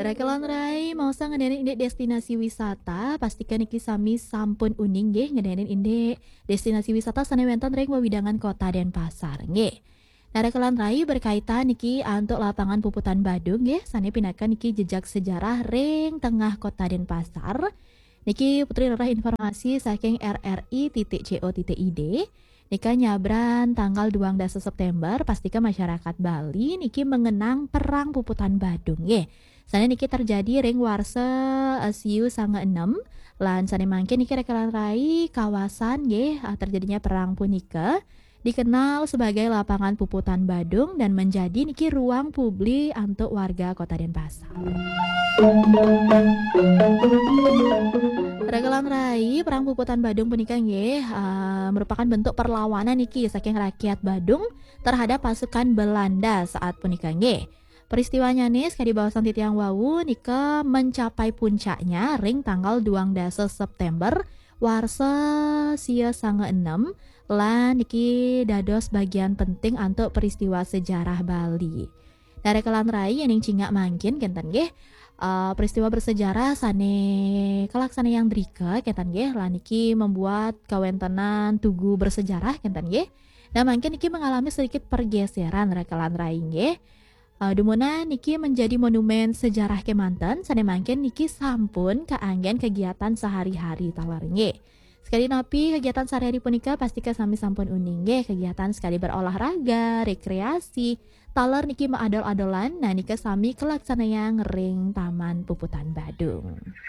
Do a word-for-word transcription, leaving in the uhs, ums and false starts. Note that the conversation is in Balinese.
Rakelan rai, mau sa ngenenin indik destinasi wisata, pastikan niki sami sampun uning nggih ngenenin indik destinasi wisata sane wenten ring wewidangan Kota Denpasar nggih. Nah, rakelan rai, berkaitan niki antuk lapangan puputan Badung nggih, sane pinaka niki jejak sejarah ring tengah Kota Denpasar. Niki Putri nerah informasi saking R R I titik C O titik I D. Nika nyabran tanggal duang dasa September, pastika masyarakat Bali niki mengenang Perang Puputan Badung nggih. Sane niki terjadi ring warsa, eh, siu sanga enem, lan sane mangkin niki rakelan rai, kawasan nggih, eh, terjadinya perang punika dikenal sebagai Lapangan Puputan Badung dan menjadi niki ruang publik antuk warga Kota Denpasar. Rakelan rai, Perang Puputan Badung punika nggih, eh, merupakan bentuk perlawanan niki saking rakyat Badung terhadap pasukan Belanda saat punika nggih. Peristiwanyane, sakadi baosan titiang wau, nika mencapai puncaknya ring tanggal duang dasa September warsa sia sanga enem, lan niki dados bagian penting antuk peristiwa sejarah Bali. Nah, rakelan rai, yening cingak mangkin kenten nggih, eh, peristiwa bersejarah sane kalaksanayang drika kenten nggih, lan niki membuat kawentenan tugu bersejarah kenten nggih. Nah, mangkin niki mengalami sedikit pergeseran rakelan rai nggih. Eh, dumunan niki menjadi monumen sejarah kemanten, sane mangkin niki sampun kaanggen kegiatan sehari-hari taler nggih. Sekadi napi kegiatan sehari-hari punika, pastika sami sampun uning nggih, kegiatan sekadi berolahraga, rekreasi, taler niki maadol-adolan, nah nika sami kalaksanayang ring Taman Puputan Badung.